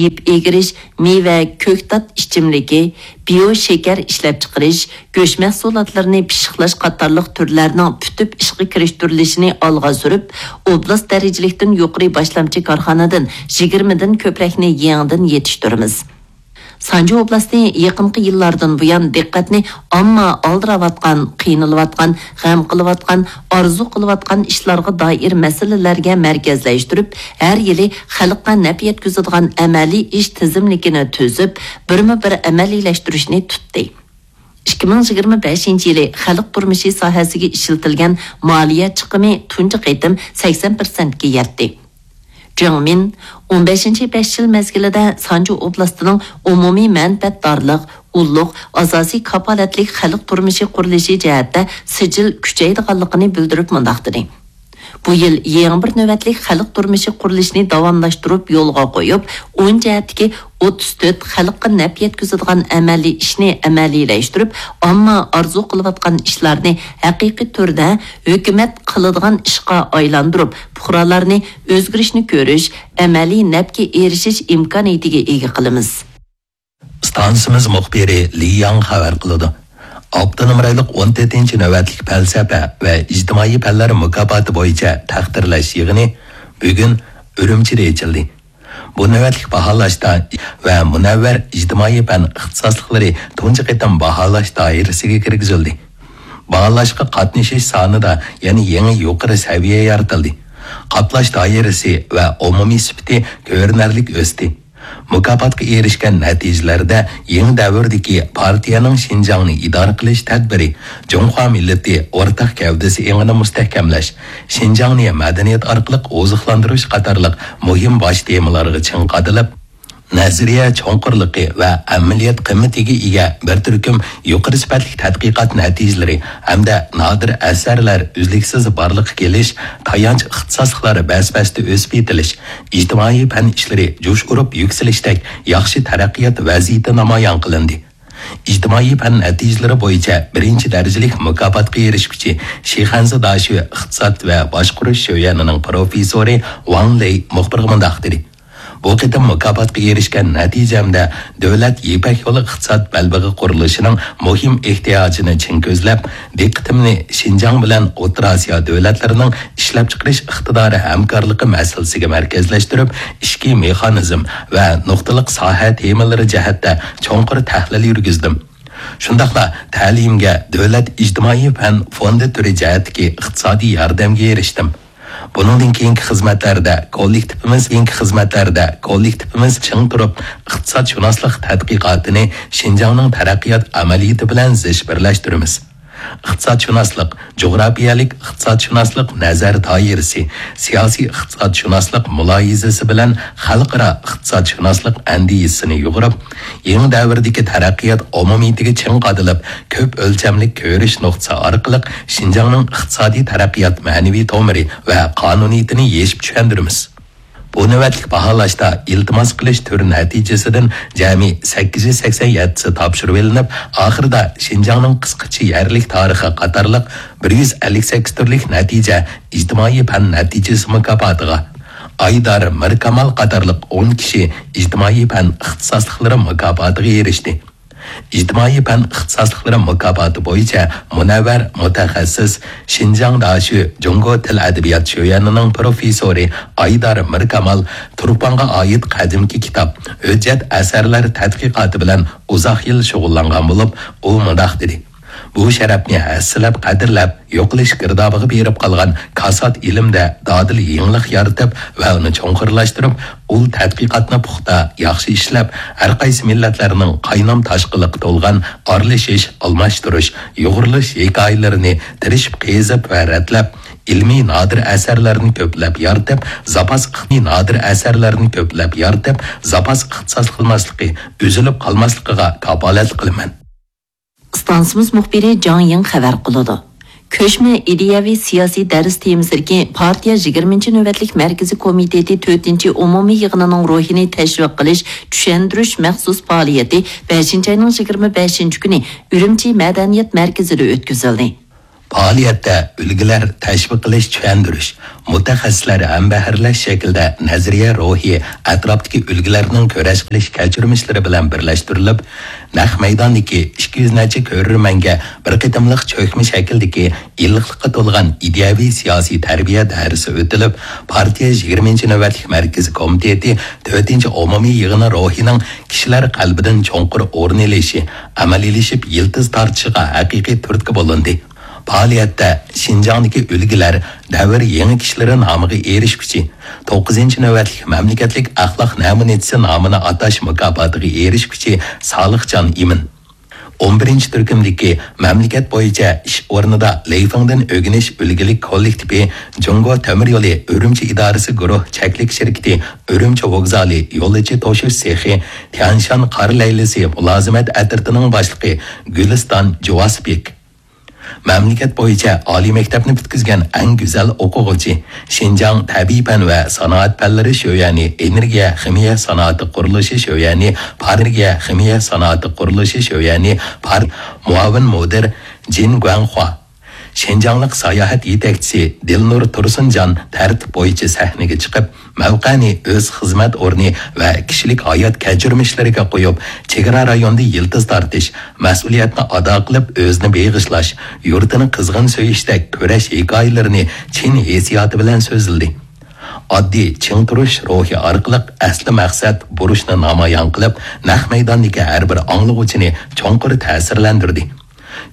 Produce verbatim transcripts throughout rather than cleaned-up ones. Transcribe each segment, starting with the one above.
يىپ ئېگىرىش، مېۋە، كۆكتات ئىچىملىكى، بىيو شېكەر ئىشلەپچىقىرىش، گۆش مەھسۇلاتلىرىنى پىششىقلاش قاتارلىق تۈرلەرنىڭ پۈتۈپ ئىشقا كىرىشتۈرۈلۈشىنى ئالغا سۈرۈپ، ئوبلاست دەرىجىلىكتىن يۇقىرى باشلامچى كارخانىدىن يىگىرمىدىن كۆپرەكنى يېڭىدىن يېتىشتۈرىمىز. سانجى ئوبلاستى يېقىنقى يىللاردىن بۇيان دىققەتنى ئامما ئالدىراۋاتقان، قىينىلىۋاتقان، غەم قىلىۋاتقان، ئارزۇ قىلىۋاتقان ئىشلارغا دائىر مەسىلىلەرگە مەركەزلەشتۈرۈپ، ھەر يىلى خەلققە نەپ يەتكۈزىدىغان ئەمەلىي ئىش تىزىملىكىنى تۈزۈپ، بىرمۇ بىر ئەمەلىيلەشتۈرۈشنى تۇتتى. ئىككى مىڭ يىگىرمە بەشىنچى يىلى خەلق تۇرمۇشى ساھەسىگە ئىشلىتىلگەن مالىيە چىقىمى تۇنجى قېتىم سەكسەن پىرسەنتكە يەتتى. جېڭ مىن ئون بەشىنچى بەش يىل مەزگىلىدە سانجى ئوبلاستىنىڭ ئومۇمىي مەنپەئەتدارلىق، ئۇللۇق، ئاساسىي كاپالەتلىك خەلق تۇرمۇشى قۇرۇلۇشى جەھەتتە سىجىل كۈچەيدىغانلىقىنى بىلدۈرۈپ مۇنداق دېدى: بۇ يىل يېڭى بىر نۆۋەتلىك خەلق تۇرمۇشى قۇرۇلۇشىنى داۋاملاشتۇرۇپ يولغا قويۇپ، ئون جەھەتتىكى ئوتتۇز تۆت خەلققە نەپ يەتكۈزىدىغان ئەمەلىي ئىشنى ئەمەلىيلەشتۈرۈپ، ئامما ئارزۇ قىلىۋاتقان ئىشلارنى ھەقىقىي تۈردە ھۆكۈمەت قىلىدىغان ئىشقا ئايلاندۇرۇپ، پۇقرالارنى ئۆزگىرىشنى كۆرۈش، ئەمەلىي نەپكە ئېرىشىش ئىمكانىيىتىگە ئىگە قىلىمىز. ئىستانسىمىز مۇخبىرى لى ياڭ خەۋەر قىلىدۇ. ئاپتونوم رايونلۇق ئون تۆتىنچى نۆۋەتلىك پەلسەپە ۋە ئىجتىمائىي پەنلەر مۇكاپاتى بويىچە تەقدىرلەش يىغىنى بۈگۈن ئۈرۈمچىدە ئېچىلدى. بۇ نۆۋەتلىك باھالاشتا ۋە مۇنەۋۋەر ئىجتىمائىي پەن ئىختىساسلىقلىرى تۇنجى قېتىم باھالاش دائىرىسىگە كىرگۈزۈلدى. باھالاشقا قاتنىشىش سانىدا يەنە يېڭى يۇقىرى سەۋىيە يارىتىلدى. قاپلاش دائىرىسى ۋە ئومۇمىي سۈپىتى كۆرۈنەرلىك ئۆستى. مۇكاپاتقا ئېرىشكەن نەتىجىلەردە يېڭى دەۋردىكى پارتىيەنىڭ شىنجاڭنى ئىدارە قىلىش تەدبىرى، جۇڭخۇا مىللىتى ئورتاق گەۋدىسى ئېڭىنى مۇستەھكەملەش، شىنجاڭنى مەدەنىيەت ئارقىلىق ئوزۇقلاندۇرۇش قاتارلىق مۇھىم باش تېمىلارغا چىڭ قادىلىپ، نەزەرىيە چوڭقۇرلۇقى ۋە ئەمەلىيەت قىممىتىگە ئىگە بىر تۈركۈم يۇقىرى سۈپەتلىك تەتقىقات نەتىجىلىرى ھەمدە نادىر ئەسەرلەر ئۈزلۈكسىز بارلىققا كېلىش، تايانچ ئىختىساسلىقلار بەس-بەستە ئۆسۈپ يېتىلىش، ئىجتىمائىي پەن ئىشلىرى جۇش ئۇرۇپ يۈكسىلىشتەك ياخشى تەرەققىيات ۋەزىيىتى نامايان قىلىندى. ئىجتىمائىي پەن نەتىجىلىرى بويىچە بىرىنچى دەرىجىلىك مۇكاپاتقا ئېرىشكۈچى شىخەنزې داشۆ ئىقتىساد ۋە باشقۇرۇش شۆيۈەنىنىڭ پروفېسسورى ۋاڭ لېي مۇخبىرغا مۇنداق دېدى: بۇ قېتىم مۇكاپاتقا ئېرىشكەن نەتىجەمدە دۆلەت يىپەك يولى ئىقتىساد بەلبېغى قۇرۇلۇشىنىڭ مۇھىم ئېھتىياجىنى چىڭ كۆزلەپ، دىققىتىمنى شىنجاڭ بىلەن ئوتتۇرا ئاسىيا دۆلەتلىرىنىڭ ئىشلەپچىقىرىش ئىقتىدارى ھەمكارلىقى مەسىلىسىگە مەركەزلەشتۈرۈپ، ئىچكى مېخانىزم ۋە نۇقتىلىق ساھە تېمىلىرى جەھەتتە چوڭقۇر تەھلىل يۈرگۈزدۈم. شۇنداقلا تەلىيىمگە دۆلەت ئىجتىمائىي پەن فوندى تۈرى جەھەتتىكى ئىقتىسادىي ياردەمگە ئېرىشتىم. بۇنىڭدىن كېيىنكى خىزمەتلەردە كوللېكتىپىمىز، كېيىنكى خىزمەتلەردە كوللېكتىپىمىز چىڭ تۇرۇپ، ئىقتىسادشۇناسلىق تەتقىقاتىنى شىنجاڭنىڭ تەرەققىيات ئەمەلىيىتى بىلەن زىچ بىرلەشتۈرىمىز. ئىقتىسادشۇناسلىق، جۇغراپىيەلىك ئىقتىسادشۇناسلىق نەزەر دائىرىسى، سىياسىي ئىقتىسادشۇناسلىق مۇلاھىزىسى بىلەن خەلقئارا ئىقتىسادشۇناسلىق ئەندىزىسىنى يۇغۇرۇپ، يېڭى دەۋردىكى تەرەققىيات ئومۇمىيىتىگە چىڭ قادىلىپ، كۆپ ئۆلچەملىك كۆرۈش نۇقتىسى ئارقىلىق شىنجاڭنىڭ ئىقتىسادىي تەرەققىيات مەنىۋى تومۇرى ۋە قانۇنىيىتىنى يېشىپ چۈشەندۈرىمىز. بۇ نۆۋەتلىك باھالاشتا ئىلتىماس قىلىش تۈرى نەتىجىسىدىن جەمئىي سەككىز يۈز سەكسەن يەتتىسى تاپشۇرۇۋېلىنىپ، ئاخىرىدا شىنجاڭنىڭ قىسقىچە يەرلىك تارىخى قاتارلىق بىر يۈز ئەللىك سەككىز تۈرلۈك نەتىجە ئىجتىمائىي پەن نەتىجىسى مۇكاپاتىغا، ئايدار مىركامال قاتارلىق ئون كىشى ئىجتىمائىي پەن ئىختىساسلىقلىرى مۇكاپاتىغا ئېرىشتى. ئىجتىمائىي پەن ئىختىساسلىقلىرى مۇكاپاتى بويىچە مۇنەۋۋەر مۇتەخەسسىس، شىنجاڭ داشۆ جۇڭگو تىل ئەدەبىيات شۆيۈەنىنىڭ پروفېسسورى ئايدار مىركامال تۇرپانغا ئائىت قەدىمكى كىتاب، ھۆججەت ئەسەرلەر تەتقىقاتى بىلەن ئۇزاق يىل شۇغۇللانغان بولۇپ، ئۇ مۇنداق دېدى: بۇ شەرەپنى ھەسسىلەپ، قەدىرلەپ، يوقىلىش گىردابىغا بېرىپ قالغان كاسات ئىلىمدە دادىل يېڭىلىق يارىتىپ ۋە ئۇنى چوڭقۇرلاشتۇرۇپ، ئۇل تەتقىقاتنى پۇختا، ياخشى ئىشلەپ، ھەر قايسى مىللەتلەرنىڭ قاينام تاشقىنلىقى تولغان ئارىلىشىش، ئالماشتۇرۇش، يۇغۇرۇلۇش ھېكايىلىرىنى تىرىشىپ قېزىپ ۋە رەتلەپ، ئىلمىي نادىر ئەسەرلەرنى كۆپلەپ يارىتىپ، زاپاس ئىقتىسادىي نادىر ئەسەرلەرنى كۆپلەپ يارىتىپ، زاپاس ئىختىساسلىق قىلماسلىقى، ئۈزۈلۈپ قالماسلىقىغا كاپالەتلىك قىلىمەن. ئىستانسىمىز مۇخبىرى جاڭ يىڭ خەۋەر قىلىدۇ. كۆچمە ئىدىيەۋى سىياسىي دەرس تېمىسىدىكى پارتىيە يىگىرمىنچى نۆۋەتلىك مەركىزىي كومىتېتى تۆتىنچى ئومۇمىي يىغىنىنىڭ روھىنى تەشۋىق قىلىش، چۈشەندۈرۈش مەخسۇس پائالىيىتى بەشىنچى ئاينىڭ يىگىرمە بەشىنچى كۈنى ئۈرۈمچى مەدەنىيەت مەركىزىدە ئۆتكۈزۈلدى. پائالىيەتتە ئۈلگىلەر تەشۋىق قىلىش، چۈشەندۈرۈش، مۇتەخەسسىسلەر ھەمبەھىرلەش شەكلىدە نەزەرىيە روھى ئەتراپتىكى ئۈلگىلەرنىڭ كۈرەش قىلىش كەچۈرمىشلىرى بىلەن بىرلەشتۈرۈلۈپ، نەق مەيداندىكى ئىككى يۈز نەچچە كۆرۈرمەنگە بىر قېتىملىق چۆكمە شەكلىدىكى ئىللىقلىققا تولغان ئىدىيەۋى سىياسىي تەربىيە دەرسى ئۆتۈلۈپ، پارتىيە يىگىرمىنچى نۆۋەتلىك مەركىزىي كومىتېتى تۆتىنچى ئومۇمىي يىغىنى روھىنىڭ كىشىلەر قەلبىدىن چوڭقۇر ئورۇن ئېلىشى، ئەمەلىيلىشىپ يىلتىز تارتىشىغا ھەقىقىي تۈرتكە بولۇندى. پائالىيەتتە شىنجاڭدىكى ئۈلگىلەر دەۋر يېڭىكىشلىرى نامىغا ئېرىشكۈچى، توققۇزىنچى نۆۋەتلىك مەملىكەتلىك ئەخلاق نەمۇنىچىسى نامىنى ئاتاش مۇكاپاتىغا ئېرىشكۈچى سالىھجان ئىمىن، ئون بىرىنچى تۈركۈمدىكى مەملىكەت بويىچە ئىش ئورنىدا لېيفېڭدىن ئۆگىنىش ئۈلگىلىك كوللېكتىپى، جۇڭگو تۆمۈر يولى ئۈرۈمچى ئىدارىسى گۇرۇھ چەكلىك شىركىتى ئۈرۈمچى ۋوگزالى يولۇچى توشۇش سېخى، تيەنشان قار لەيلىسى مۇلازىمەت ئەترىتىنىڭ باشلىقى گۈلىستان جۇۋاسبېك. مەملىكەت بويىچە ئالىي مەكتەپنى پۈتكۈزگەن ئەڭ گۈزەل ئوقۇغۇچى، شىنجاڭ تەبىئىي پەن ۋە سانائەت پەنلىرى شۆيەنى ئېنېرگىيە خىمىيە سانائىتى قۇرۇلۇشى شۆيەنى پار-، ئېنېرگىيە خىمىيە سانائىتى قۇرۇلۇشى شۆيەنى پار-، مۇئاۋىن مۇدىر جىن گۇەنخۇا، شىنجاڭلىق ساياھەت يېتەكچىسى دىلنۇر تۇرسۇنجان تەرتىپ بويىچە سەھنىگە چىقىپ، مەۋقەنى ئۆز خىزمەت ئورنى ۋە كىشىلىك ھايات كەچۈرمىشلىرىگە قويۇپ، چېگرا رايوندا يىلتىز تارتىش، مەسئۇلىيەتنى ئادا قىلىپ ئۆزىنى بېغىشلاش، يۇرتىنى قىزغىن سۆيۈشتەك كۈرەش ھېكايىلىرىنى چىن ھېسسىياتى بىلەن سۆزلىدى. ئاددىي چىڭ تۇرۇش روھى ئارقىلىق ئەسلى مەقسەت، بۇرچنى نامايان قىلىپ، نەق مەيداندىكى ھەر بىر ئاڭلىغۇچىنى چوڭقۇر تەسىرلەندۈردى.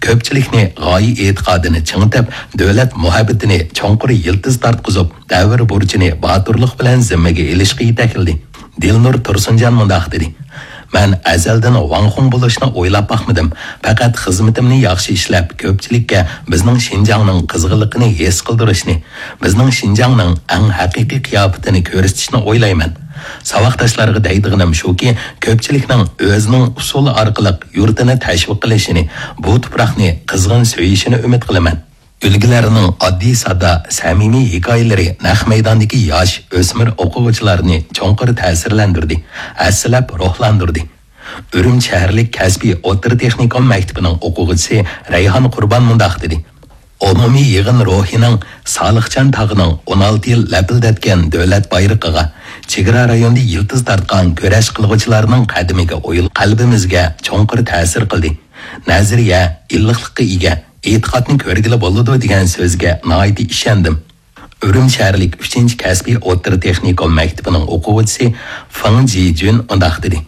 كۆپچىلىكنى غايە ئېتىقادىنى چىڭىتىپ، دۆلەت مۇھەببىتىنى چوڭقۇر يىلتىز تارتقۇزۇپ، دەۋر بۇرچىنى باتۇرلۇق بىلەن زىممىگە ئېلىشقا يېتەكلىدى. دىلنۇر تۇرسۇنجان مۇنداق دېدى، مەن ئەزەلدىن ۋاڭخۇڭ بولۇشنى ئويلاپ باقمىدىم. پەقەت خىزمىتىمنى ياخشى ئىشلەپ، كۆپچىلىككە بىزنىڭ شىنجاڭنىڭ قىزغىنلىقىنى ھېس قىلدۇرۇشنى، بىزنىڭ شىنجاڭنىڭ ئەڭ ھەقىقىي قىياپىتىنى كۆرسىتىشنى ئويلايمەن. ساۋاقداشلارغا دەيدىغىنىم شۇكى، كۆپچىلىكنىڭ ئۆزىنىڭ ئۇسۇلى ئارقىلىق يۇرتىنى تەشۋىق قىلىشىنى، بۇ تۇپراقنى قىزغىن سۆيۈشىنى ئۈمىد قىلىمەن. ئۈلگىلەرنىڭ ئاددىي-ساددا، سەمىمىي ھېكايىلىرى نەق مەيداندىكى ياش، ئۆسمۈر ئوقۇغۇچىلارنى چوڭقۇر تەسىرلەندۈردى، ھەسسىلەپ روھلاندۇردى. ئۈرۈمچى شەھەرلىك كەسپىي ئوتتۇرا تېخنىكوم مەكتىپىنىڭ ئوقۇغۇچىسى رەيھان قۇربان مۇنداق دېدى، ئومۇمىي يىغىن روھىنىڭ سالىخجان تاغنىڭ ئون ئالتە يىل لەپىلدەتكەن دۆلەت بايرىقىغا، چېگرا رايوندا يىلتىز تارتقان كۈرەش قىلغۇچىلارنىڭ قەدىمىگە ئويۇل قەلبىمىزگە چوڭقۇر تەسىر قىلدى. نەزەرىيە، ئىللىقلىققا ئىگە، ئېتىقادنى كۆرگىلى بولىدۇ دېگەن سۆزگە ناھايىتى ئىشەندىم. ئۈرۈمچى شەھەرلىك ئۈچىنچى كەسپىي ئوتتۇرا تېخنىكوم مەكتىپىنىڭ ئوقۇغۇچىسى فېڭ جىجۈن مۇنداق دېدى،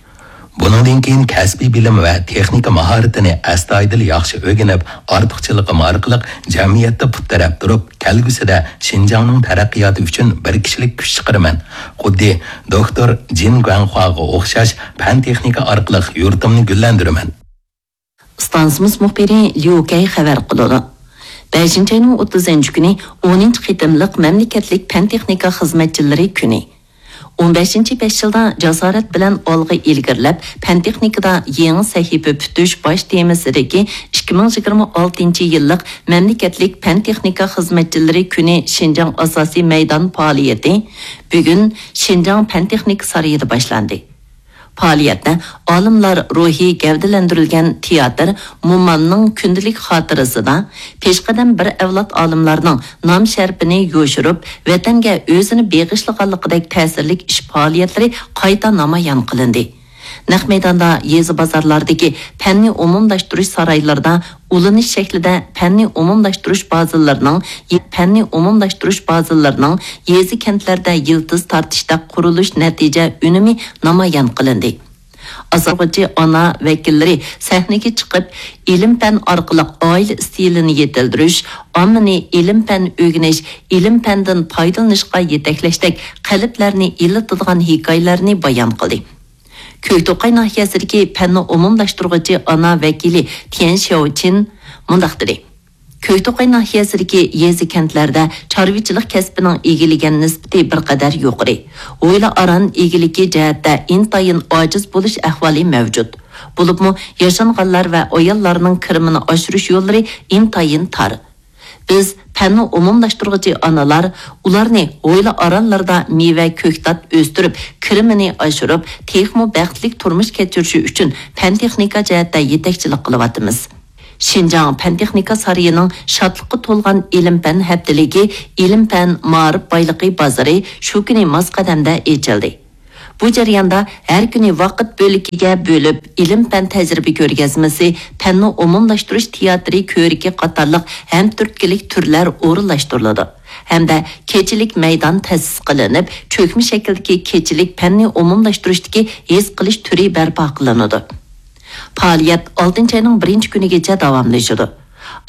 بۇنىڭدىن كېيىن كەسپىي بىلىم ۋە تېخنىكا ماھارىتىنى ئەستايىدىل ياخشى ئۆگىنىپ، ئارتۇقچىلىقىم ئارقىلىق جەمئىيەتتە پۇت تىرەپ تۇرۇپ، كەلگۈسىدە شىنجاڭنىڭ تەرەققىياتى ئۈچۈن بىر كىشىلىك كۈچ چىقىرىمەن. خۇددى دوكتور جىن گۇەنخۇاغا ئوخشاش پەن-تېخنىكا ئارقىلىق يۇرتۇمنى گۈللەندۈرىمەن. ئىستانسىمىز مۇخبىرى ليۇ كەي خەۋەر قىلىدۇ. بەشىنچى ئاينىڭ ئوتتۇزىنچى كۈنى ئونىنچى قېتىملىق مەملىكەتلىك پەن-تېخنىكا خىزمەتچىلىرى كۈنى. ئون بەشىنچى بەش يىلدا جاسارەت بىلەن ئالغا ئىلگىرىلەپ، پەن-تېخنىكىدا يېڭى سەھىپە پۈتۈش باش تېمىسىدىكى ئىككى مىڭ يىگىرمە ئالتىنچى يىللىق مەملىكەتلىك پەن-تېخنىكا خىزمەتچىلىرى كۈنى شىنجاڭ ئاساسىي مەيدان پائالىيىتى بۈگۈن شىنجاڭ پەن-تېخنىكا سارىيىدا باشلاندى. پائالىيەتتە ئالىملار روھى گەۋدىلەندۈرۈلگەن تىياتىر مومامنىڭ كۈندىلىك خاتىرىسىدا پېشقەدەم بىر ئەۋلاد ئالىملارنىڭ نام-شەرىپىنى يوشۇرۇپ، ۋەتەنگە ئۆزىنى بېغىشلىغانلىقىدەك تەسىرلىك ئىش پائالىيەتلىرى قايتا نامايان قىلىندى. نەق مەيداندا يېزا بازارلاردىكى پەننى ئومۇملاشتۇرۇش سارايلىرىدا ئۇلىنىش شەكلىدە پەننى ئومۇملاشتۇرۇش بازىلىرىنىڭ، پەننى ئومۇملاشتۇرۇش بازىلىرىنىڭ يېزا-كەنتلەردە يىلتىز تارتىشتا قۇرۇلۇش نەتىجە ئۈنۈمى نامايان قىلىندى. ئاساسلىغۇچى ئانا ۋەكىللىرى سەھنىگە چىقىپ، ئىلىم-پەن ئارقىلىق ئائىلە ئىستىلىنى يېتىلدۈرۈش، ئاممىنى ئىلىم-پەن ئۆگىنىش، ئىلىم-پەندىن پايدىلىنىشقا يېتەكلەشتەك قەلبلەرنى ئىللىتىدىغان ھېكايىلەرنى بايان قىلدى. كۆكتوقاي ناھىيەسىدىكى پەننى ئومۇملاشتۇرغۇچى ئانا ۋەكىلى تيەن شياۋچىن مۇنداق دېدى، كۆكتوقاي ناھىيەسىدىكى يېزا-كەنتلەردە چارۋىچىلىق كەسپىنىڭ ئىگىلىگەن نىسبىتى بىر قەدەر يۇقىرى. ھويلا ئاران ئىگىلىكى جەھەتتە ئىنتايىن ئاجىز بولۇش ئەھۋالى مەۋجۇت. بولۇپمۇ ياشانغانلار ۋە ئاياللارنىڭ كىرىمىنى ئاشۇرۇش يوللىرى ئىنتايىن تار. بىز پەننى ئومۇملاشتۇرغۇچى ئانىلار ئۇلارنى ھويلا ئارانلىرىدا مېۋە، كۆكتات ئۆستۈرۈپ، كىرىمىنى ئاشۇرۇپ، تېخىمۇ بەختلىك تۇرمۇش كەچۈرۈشى ئۈچۈن پەن-تېخنىكا جەھەتتە يېتەكچىلىك قىلىۋاتىمىز. شىنجاڭ پەن-تېخنىكا سارىيىنىڭ شادلىققا تولغان ئىلىم-پەن ھەپتىلىكى، ئىلىم-پەن مائارىپ بايلىقى بازىرى شۇ كۈنى ماس قەدەمدە ئېچىلدى. بۇ جەرياندا ھەر كۈنى ۋاقىت بۆلىكىگە بۆلۈپ، ئىلىم-پەن تەجرىبە كۆرگەزمىسى، پەننى ئومۇملاشتۇرۇش تىياتىرى كۆرىكى قاتارلىق ھەمتۈرتكىلىك تۈرلەر ئورۇنلاشتۇرۇلىدۇ. ھەمدە كېچىلىك مەيدان تەسىس قىلىنىپ، چۆكمە شەكىلدىكى كېچىلىك پەننى ئومۇملاشتۇرۇشتىكى ھېس قىلىش تۈرى بەرپا قىلىنىدۇ. پائالىيەت ئالتىنچى ئاينىڭ بىرىنچى كۈنىگىچە داۋاملىشىدۇ.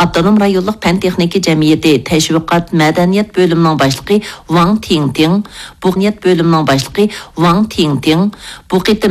ئاپتونوم رايونلۇق پەن-تېخنىكا جەمئىيىتى تەشۋىقات مەدەنىيەت بۆلۈمىنىڭ باشلىقى ۋاڭ تىڭتىڭ، بۇغنىيەت بۆلۈمىنىڭ باشلىقى ۋاڭ تىڭتىڭ، بۇ قېتىم